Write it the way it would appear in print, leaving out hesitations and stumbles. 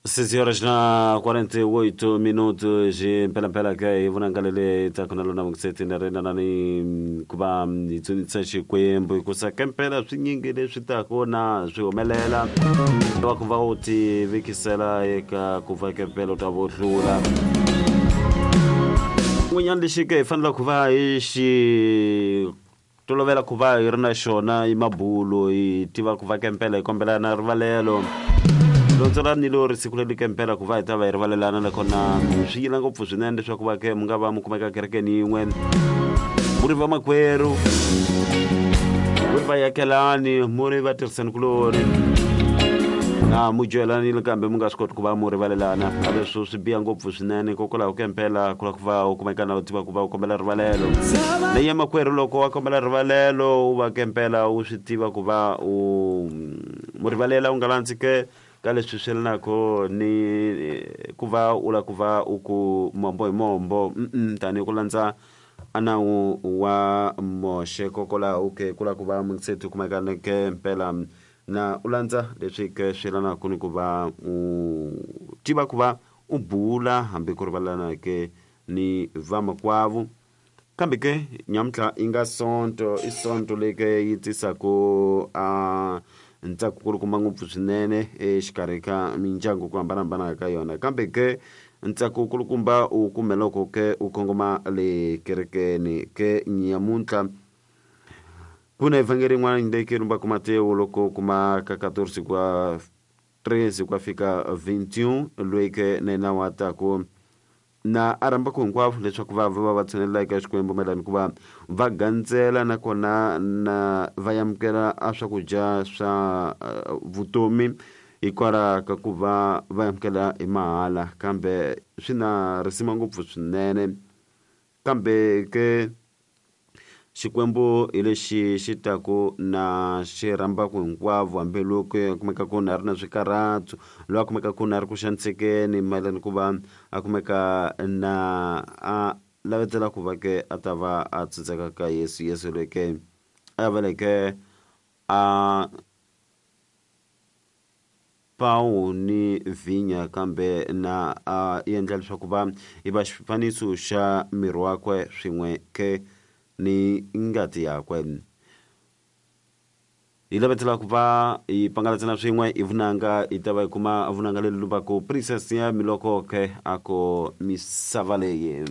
6 horas na 48 minutos mpelampela ke hi vunanga lele ta khona lona vungiseti na rina na ni ku va hi dzunisa Xikwembu hikusa ke mpela swinyingi leswi taka na swi humelela wa ku va u ti vekisela eka ku va ke mpela u ta vo hlula n'wanyana lexi ke hi fanele ku va hi xi Tolovela ku va hi ri na xona i mabulo, hi tiva ku va kempela hi kombela na rivalelo. Lontsonani ni lori siku leri kempela ku va hi ta va hi rivalelana nakona swi yila ngopfu swinene leswaku va ke mi nga va mi kumeka kerekeni yin'we mu ri vamakwerhu mu ri vayakelani mu ri vatirhisani kulori na mu dyohelanile kambe mu nga swi koti ku va mu rivalelana a leswo swi biha ngopfu swinene hikokwalaho kempela ku la ku va u kumeka na u tiva ku va u kombela rivalelo leyi ya makwerhu loko wa kombela rivalelo u va kempela u swi tiva ku va u mu rivalela u nga landzi ke ka leswi swi yelanaka ni ku va u la ku va u ku mombo hi mombo tanihi ku landza a nawu wa Moxe kokwalaho ke ku la ku va mungiseti u kumeka ni ke mpela na u landza leswi ke swi yelanaka ni ku va u tiva ku va u bula hambi ku rivalelana ke ni vamakwavo. Kambe ke, nyamuntlha yi nga Sonto, i Sonto leyi ke yi tisaka a ntsako kulukumba ngopfu swinene exikarhi ka mindyangu ku hambanahambana ka yona. Kambe ke, ntsako kulukumba u kume loko ke u kongoma le kerekeni ke nyamuntlha. Ku na evhangeli yin'wana leyi ke lumbaka Matewu loko kuma ka 14 kwa 13 ku ya fika 21 loyi ke na yena wa taku na a rhambaku hinkwavo leswaku va va va tshinelela eka Xikwembu mayelana ku va va gandzela nakona na va amukela a swakudya swa vutomi hikwalaho ka ku va va amukela hi mahala kambe swi na risima ngopfu swinene kambe ke Xikwembu hi lexi xi taku na xi rhambaku hinkwavo hambi loko a kumeka ku na ri na swikarhato loyi a kumeka ku na ri ku xanisekeni mayelana ku va a kumeka na a lavetela ku va ke a ta va a tsundzeka ka Yesu Yesu loyi ke a veleke a Pawu ni vhinya kambe na a endla leswaku va yi va xifaniso xa miri wakwe swin'we ke ni ngati yakwe. Hi lavetela ku va hi pangalatsana swin'we hi vunanga hi ta va hi kuma vunanga leri lumbaku Princess ya Miloko ke a ko misava leyi.